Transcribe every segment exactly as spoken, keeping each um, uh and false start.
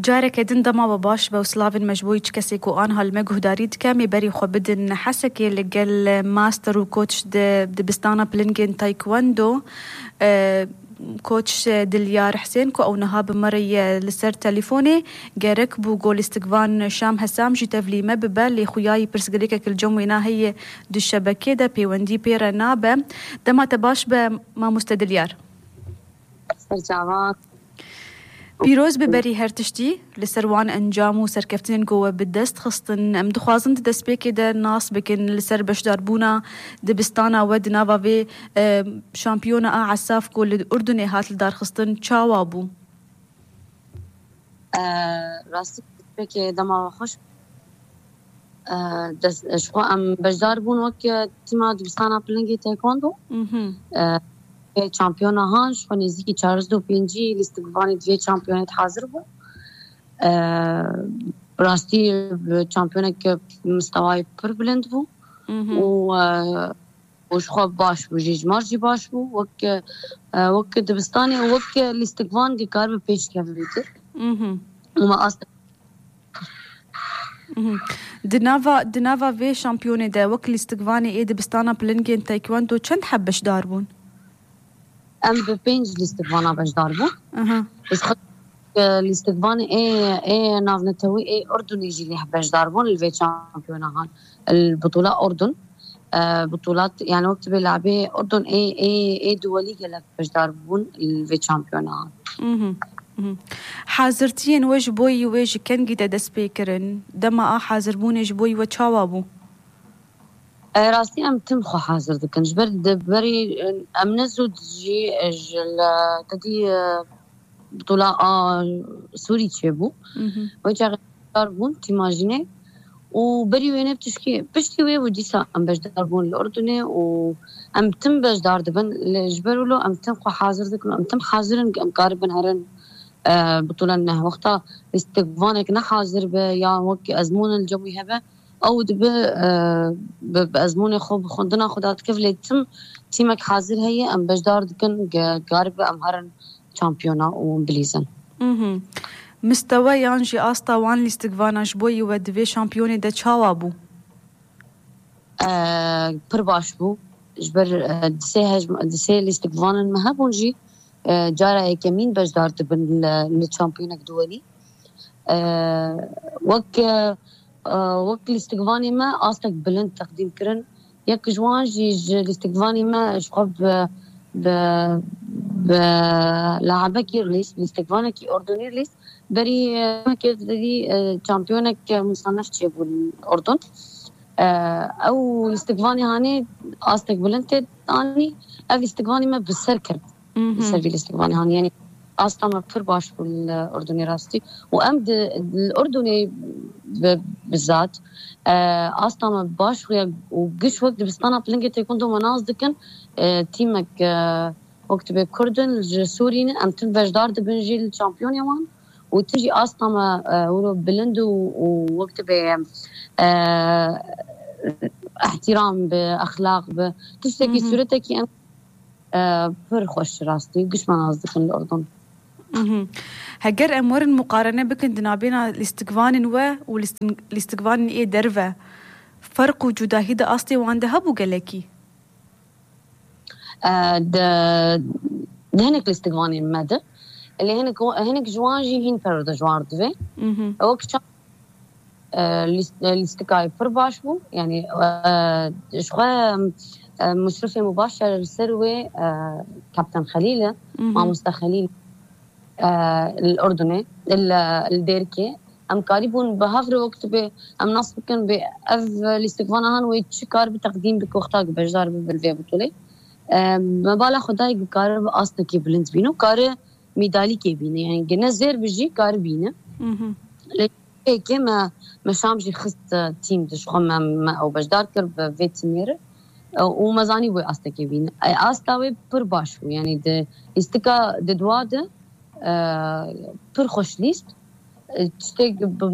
Careke din dema we baş be û silavên me ji bo hiç kesê ku anha li me guhdarî dike, em ê berî xwe bidin Hesekê li gel master û koç di dibistana pilingên taekwondo, e, koç Dilyar Hisên ku ew niha bi me re ye li ser telîfonê, gerek bû ku lîstikvan Şam Hesam jî tevlî me bibe, lê xuyayî pirsgirêkek li cem wêna heye di şebekê de pêwendî pê re nabe. Dema te baş be mamoste Dilyar. Serçavan. Pîroz be berî her tiştî, li ser wan encam û serkeftinên ku we bi dest xistin. Em dixwazin di destpêkê de nas bikin li ser beşdarbûna dibistana we di nava vê, e, şampiyona a Esaf ku li Urdunê hat lidarxistin, çawa bû? E, rastî pêkê dema we xweş. E, dest, ji xwe em beşdar bûn wek, e, tîma dibistana pilingê taekwondo. Mhm. E, vê şampiyona han, ji xwe nêzîkî çardeh û pêncî lîstikvanê di vê şampiyonê de hazir bû. E, rastî, e, şampiyonek mistewayê pir bilind bû. Mhm. Û, e, û ji xwe baş bû jî, ji mar jî baş bû. Wek, e, wek dibistanê û wek lîstikvan dikaribe pêş keve vêtir. Mhm. Û me asta Mhm. Di nava, di nava vê şampiyonê de wek lîstikvanê ê dibistana pilingên taekwondo çend heb beşdar bûn? Em bi pênc lîstikvana beşdar bûn. Aha. Ji xwe, e, lîstikvanê ê, ê navnetewî ê Urdunê jî lê beşdar bûn li vê şampiyona han. Li Butula Urdun. E, butulat, yani wek tibê labê Urdun ê, ê, ê duwelî gelek beşdar bûn li vê şampiyona han. Mhm, mhm. Hazirtiyên we ji bo yî wê ji kengî de dest pê kirin? Dema a hazirbûnê ji bo yî we çawa bû? E, rastî em tim xwe hazir dikin. Ji ber di berî, e, em ne zû jî, e, ji li tedî, e, Bitola a Sûrî çêbû. Mhm. Wê çaxê beşdar bûn tîma jinê û berî wê ne tişkî piştî wê bû dîsa em beşdar bûn li Urdunê û em tim beşdar dibin. Lê ji ber wilo em tim xwe hazir dikin û em tim hazir in ku em karibin herin, e, bitola neh. Wexta lîstikvanek ne hazir be ya wek ezmûn li cem wî hebe, ew dibe, e, bi, bi ezmûnê xwe, bi xwendina xwe dadikeve, lê tim tîmek hazir heye, em beşdar dikin, ge-, karibe em herin şampiyona û bilîzin. Mhm. Mistewe yan jî asta wan lîstikvana ji bo yî we di vê şampiyonê de çawa bû? E, pir baş bû. Ji ber, e, di sê hej-, di sê lîstikvanên me hebûn jî, e, cara yekemîn beşdar dibin li, li şampiyonek duwelî. E, wek, e, e, wek lîstikvanê me astek bilind teqdîm kirin. Yek ji wan jî ji lîstikvanê me ji xwe bi, bi, bi laebekî rîlîz, lîstikvanekî Urdunî rîlîz. Berî, e, mekê derî, e, şampiyonek, e, musanef çêbû li Urdun. E, ew lîstikvanê hanê astek bilind tê anî. Ev lîstikvanê me bi ser ket. Mhm. Li ser vî lîstikvanê han. Yanî asta me pir baş bû li Urdunê rastî. Û em di, li Urdunê bi, bizat, e, asta me baş xuya û giş wek dibistana pilingê têkun do me nas dikin, e, tîmek, e, wek tibê Kurd in, ji Sûrî ne, em tim beşdar dibin jî li şampiyonê wan. Û tim jî asta me, e, wilo bilind û, û wek tibê, e, ihtiram bi, exlaq bi, tiştekî Mhm. sûretekî em e, pir xweş rastî. Giş me nas dikin li Urdun. Mhm. Heger em werin muqarene bikin di nabêna lîstikvanên we û lîstin-, lîstikvanên ê derve, ferq û cudahî di astê wan de hebû gelekî? E, di, di hinek lîstikvanên me de. Lê hinek, hinek ji wan jî hîn perwerde ji wan re divê. Mhm. Wek çav e, lîst-, e, lîstikayê pir baş bû. Yanî, e, ji xwe, e, Muşrifê Mubaşer li ser wê, e, Kaptan Xelîl e, Mhm. Mamoste Xelîl, e, li Urdunê, li, li Dêrikê. Em karîbûn bi hev re wek tibê em nas bikin bê ev lîstikvana han wê çi kar bi teqdîm bike wexta ku beşdar bibe li vê butulê. E, me bala xwe dayê ku kare bi astekî bilind bîne û kare mîdalîkê bîne. Yani gine zêr bi jî kare bîne. Mhm. Lê pêkê me, me Şam jî xist, e, tîm de ji xwe me, me ew beşdar kir bi vê timê re. E, û me zanî wê astekê bîne. E, asta wê pir baş bû. Yani di lîstika di dua de, e, pir xweş lîst. E, tiştek bi,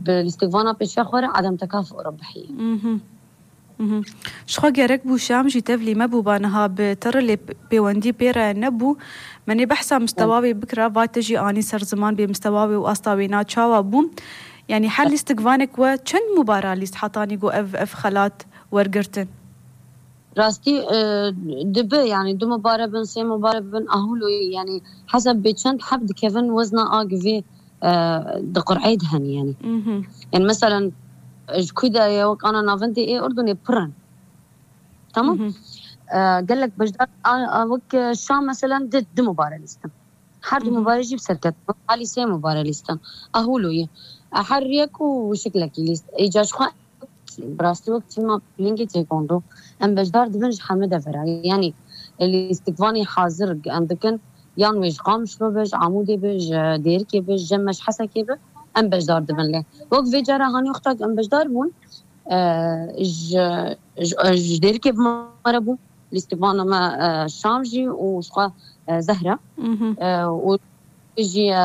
bi lîstikvana pêşiya xwe re Adem Tekaf û Rebihî. Mhm. Ji xwe gerek bû Şam jî tevlî me bûba niha bi te re lê pêwendî pê re nebû. Me nê behsa mistewa wê bikira, va te jî anî ser ziman bê mistewa wê û asta wê na çawa bû. Yanî her lîstikvanek we çend mubara lîst hetanî ku ev, ev xelat wergirtin? Rastî, e, dibe, yanî du mubare bin, sê mubare bin, ahûlo ye, yanî hesab bê çend heb dikevin wezna a givê, e, di qur'ê de hene, yanî. Mhm. Yanî, meselen, ji ku de ye, wek ana navendê ê Urdunê pir in. Tamam? Mhm. E, gelek beşdar, a, a, wek, e, Şam, meselen, di, du mubare lîstin. Her du Mhm. mubare jî bi serket. Alî sê mubare lîstin. Ahûlo ye. E, her yek û şiklekî lîst. Îca ji xwe Bi rastî wek çima pîlingê têkondo em beşdar dibin ji hemî devera. Yanî lîstikvanê hazir em dikin, yan wê ji Qamişlo be, ji Amûdê be, ji Dêrikê be, ji Cem me, ji Hesekê be, em beşdar dibin lê. Wek vê cara hanî wexta ku em beşdar bûn, e, ji, ji, ji Dêrikê bi me re bû, lîstikvana me, e, Şam jî û ji xwe, e, Zehra. Mhm. E, û jî, e,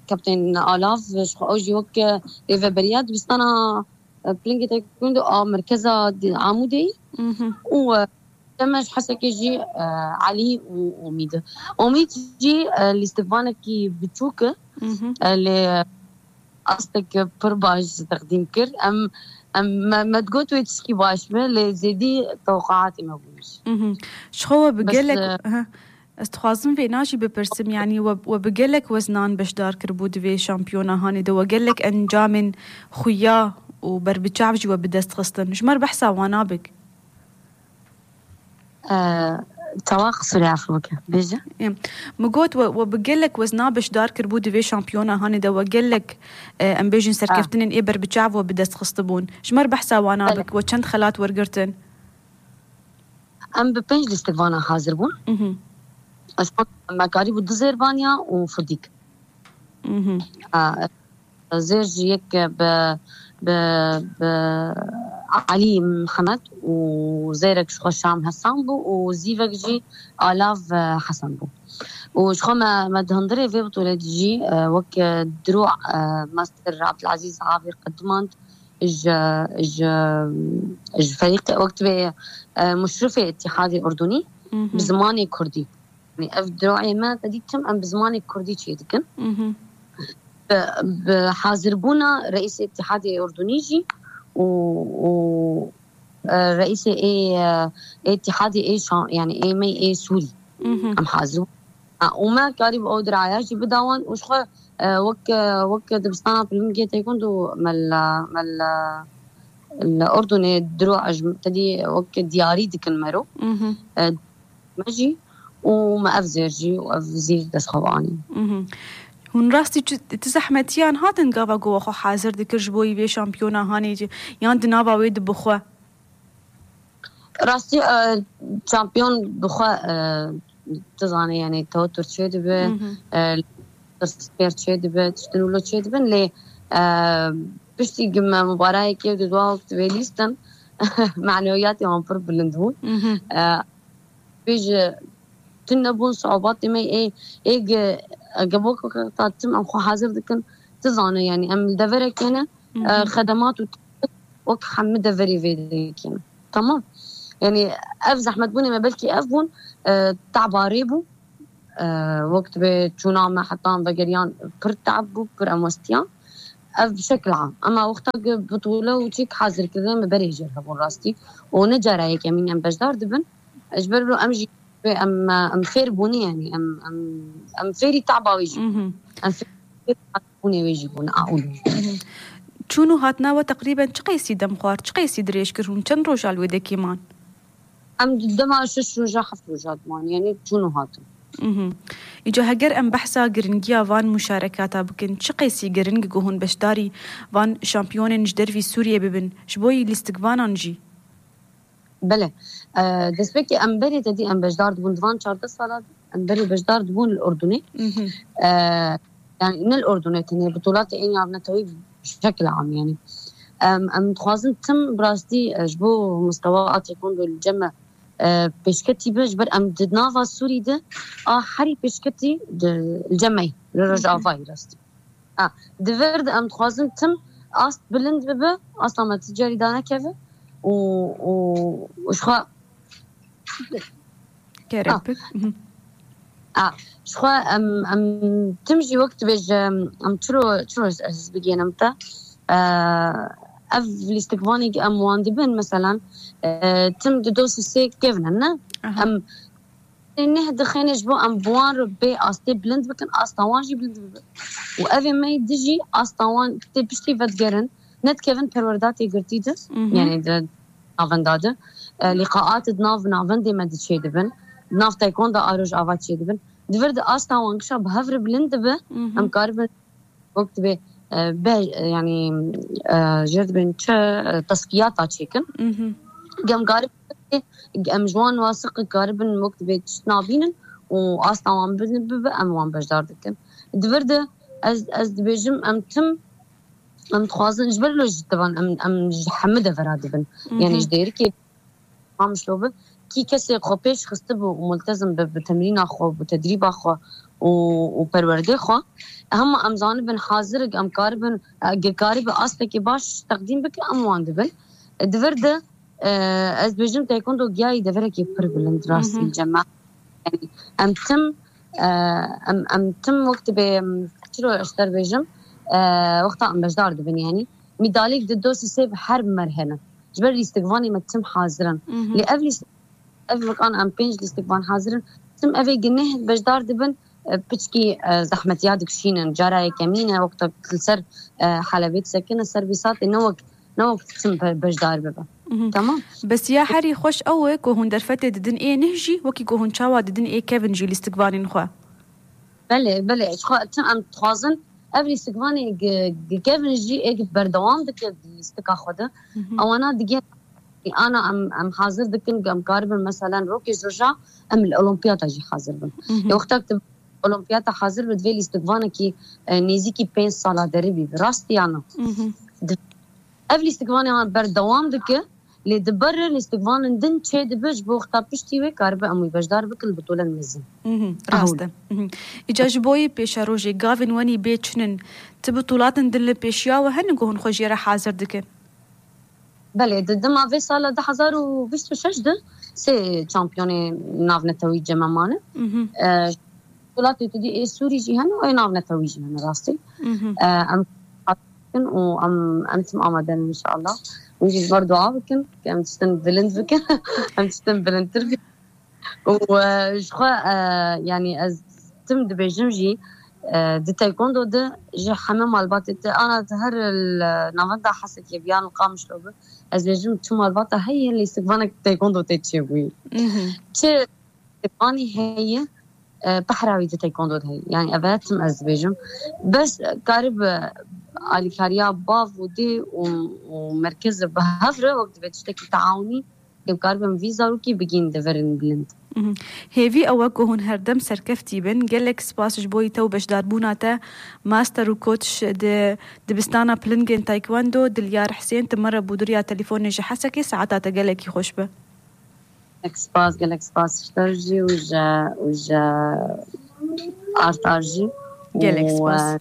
Kaptên Alav, ji xwe ew jî wek, e, rêveberiya dibistana e, Pilingê Taekwondo a merkeza di-, Amûdê yî. Mhm. Û, e, Cem me ji Hesekê jî, e, Elî û Omîd. Omîd jî, e, lîstikvanekî biçûk e. Mhm. E, lê astek pir baş teqdîm kir. Em, em, me, me digot wê tişkî baş be, lê zêdî tewqeatê me bûn jî. Mhm. Ji xwe we bi Bes, gelek, e, ha. Ez dixwazim vêna jî bipirsim, yanî we, we bi gelek weznan beşdar kiribû di vê şampiyona hanê de, we gelek encamên xuya û berbiçav jî we bi dest xistin. Ji me re behsa wana bik. Ee, Çawa qisûrê, efû bike, bêje. Ê, min got we, we bi gelek wezna beşdar kiribû di vê şampiyona hanê de, we gelek, e, em bêjin serkeftinên ê berbiçav we bi dest xistibûn. Ji me re behsa wana Belê. bik, we çend xelat wergirtin? Em bi pênc lîstikvana hazir bûn. Mhm. Ez xwe me karîbû du zêrbaniya û fudîk. Mhm. A, zêr jî yek bi, bi, bi Elî Mihemed û zêrek ji xwe Şam Hesan bû û zîvek jî Alav, e, Hesen bû. Û ji xwe me, me di hundirê vê bitûlê de jî, e, wek, e, diro, e, Master Abdulazîz Avî qedimand, ji, ji, ji ferîqê, wek tibê, e, muşrifê Îtîhadê Urdunî Mhm. bi zimanê kurdî. Yanî ev diroyê me te dî tim em bi zimanê kurdî çê dikin. Mhm. Bi, bi hazirbûna reîsê Îtîhadê Urdunî jî û, û, e, reîsê ê, e, ê Îtîhadê ê Şa-, yanî ê me ê Sûrî Mhm. em hazir bûn. Ha, û me karî bi ew diraya jî bida wan û ji xwe, e, wek, e, wek dibistana pilingê têkund û me li, me li, li Urdunê diro, e, ji te dî wek diyarî dikin mero. Mhm. E, me jî û me ev zêr jî û ev zîr dest xwe anî. Mhm. Hûn rastî çi, ti zehmetiyan hatin gava ku we xwe hazir dikir ji bo yî vê şampiyona hanê jî, yan di nava wê de bi xwe? Rastî, e, şampiyon bi xwe, e, tu zanî, yanî tewatur çê dibe, Mhm. e, pirsgêr çê dibe, tiştin wilo çê dibin, lê, e, piştî ku me mubarayekê û di dua wek divê lîstin, manewiyatê wan pir bilind bûn. Mhm. E, bêje, tune bûn, siûbatê me ê, ê ge-, ge bo ku ta tim em xwe hazir dikin, tu zane, yanî em li deverek hene, Mhm. e, xedemat û wek hemî deverê vê dikine. Tamam. Yanî ev zehmetbûnê me belkî ev bûn, e, taba rê bû. E, wek tibê çûna me hetan vegeriyan pir tab bû, pir em westiyan. Ev bi şekil am. Ema wexta ku bitûle û çîk hazirkirinê me berê jêr hebûn rastî. Û ne cara yekemîn em beşdar dibin. Ji ber wilo em jî em, em fêr bûnî, yanî em, em, em fêrî taba wê jî bûn. Mhm. Em fêrî bûnê wê jî bûn, a û. Mhm. Çûn û hatina we teqrîben çi qeysî dem xwar, çi qeysî dirêj kir hûn? Çend roja li wê dekê man? Em di dema şeş roja, heft roja diman, yanî çûn û hatin. Mhm. Îca heger em behsa giringiya van muşarekata bikin, çi qeysî giring ku hûn beşdarî van şampiyonên ji dervî Sûriyê bibin, ji bo yî lîstikvanan jî? Belê. E, destpêkê em berê te dî em beşdar dibûn di van çardeh sala de, em berê beşdar dibûn li Urdunê. Mhm. E, yanî ne li Urdunê tenê, bitulatê ê navnetewî bi şekil am yanî. Em, em dixwazin tim bi rastî, e, ji bo mistewa a taekwondo li cem me, e, pêşketî be, ji ber em di nava Sûrî de a herî pêşketî di, li cem me ye, li Rojavayê rastî. Ha, di vir de em dixwazin tim ast bilind bibe, asta me ti carî danekeve. û û û ji xwe Kerem Ah. bik. Mhm. A, ji xwe em em tim jî wek dibêje em çiro çiro ez bigihînim te. E, ev lîstikvanê em wan dibin, meselan, e, tim di do sê kevin ne? Aha. Em neh dixêne ji bo em bi wan re bê astê bilind bikin, asta wan jî bilind bibe. Û ev ê me di jî asta wan tê piştî vedigerin, ne dikevin perwerda tê girtî de, Mhm. yani di navenda de. E, lîqaat di nav navendê me di çê dibin. Di nav taekwondo a roj ava çê dibin. Di vir de asta wan gişa bi hev re bilind dibe, Mhm. em karibin wek dibê, e, be, e, yani, e, jêr dibên çi, e, teskiyata çêkin. Mhm. Em karibin, em ji wan wasiq karibin wek dibê tişt nabînin û asta wan bin bibe, em wan beşdar dikin. Di vir de ez, ez dibêjim em tim, em dixwazin ji ber lo ji tevan em, em ji hemû devera dibin. Mhm. Yani ji dêrikê Qamişlo bi, kî kesê xwe pêş xistibû û multezim bi, bi temrîna xwe, bi tedrîba xwe û, û perwerdê xwe, hema em zanibin hazir, em karibin, e, ge karibe astekê baş teqdîm bike, em wan dibin. E, di vir de, e, ez dibêjim taekwondo giyayî deverekê pir bilind rastî Mhm. cema. Yani, em tim, e, em, em tim wek dibê, em, çiro ez te bêjim, e, wexta em beşdar dibin yani. Mîdalîk di do sê bi her mer hene. Ji ber lîstikvanê me tim hazir in. Mhm. Lê ev lîst-, ev wek an em pênc lîstikvan hazir in. Tim evê gineh beşdar dibin, e, piçkî, e, zehmetiya dikişînin. Cara yekemîn e, wexta li ser, e, helebê disekine ser vî satê ne wek, ne wek tim be-, beşdar bibe. Mhm. Tamam. Bes ya herî xweş ew e ku hûn derfetê didin ê nih jî, wekî ku hûn çawa didin ê kevin jî lîstikvanên xwe. Belê, belê. Ji xwe tim em dixwazin ev lîstikvanê gi-, gi-, kevin jî ê gi berdewam dike di lîstika xwe de. Mhm. Ewana digê ana em, em hazir dikin, em karibin, meselen, rokê ji roja em li olimpiyata jî hazir bin. Mhm. Ê wexta tu olimpiyata hazir bi, divê lîstikvanekî, e, nêzîkî pênc sala derî bî. Bi rastî ya na? Mhm. Di-, ev lîstikvanê wan berdewam dike, lê di ber re lîstikvanên din çê dibe, ji bo wexta piştî wê karibe em wî beşdar bikin, bitolen mezin. Mhm, Ew. rast e. Mhm. Îca ji bo yê pêşerojê gavên wenî bê çinin, ti bitolatên din li pêşiya we hene ku hûn xwe jê re hazir dikin? Belê, di dema vê sala du hezar û bîst û şeş de sê çampiyonê navnetewî ceme mane. Mhm. E, Welatê tu dî ê Sûrî jî hene, ê navnetewî jî hene rastî. Mhm. E, em bikin û em, em tim amade ne inşallah. Hûn jî ji ber dua bikin, ke em tiştin bilind bikin, em tiştin bilindtir bikin. Û, e, ji xwe, e, yani ez tim dibêjim jî, e, di taekwondo de ji heme malbatê te, ana di her li navenda Hesekê bi yan li Qamişlo bi, ez bêjim çi malbata heye lîstikvanek taekwondo tê çêbûyî. Mhm. Çi lîstikvanî heye, e, pehra wî di taekwondo de heye. Yani ev tim ez dibêjim. Bes karibe alîkariya bav û dê û, û merkez bi hev re wek divê tiştekî teawunî, em karibin vî zarokî bigîn deverên bilind. Mhm. Hêvî ew e ku hûn herdem serkeftî bin. Gelek spas ji bo te û beşdarbûna te. Master û coach di dibistana pilingên taekwondo, Dilyar Hisên, tu me re bû duriya telefonê ji Hesekê, saeta te gelekî xweş be. Gelek spas, gelek spas ji te jî û ji, û ji Artar jî. Gelek Û, spas. e,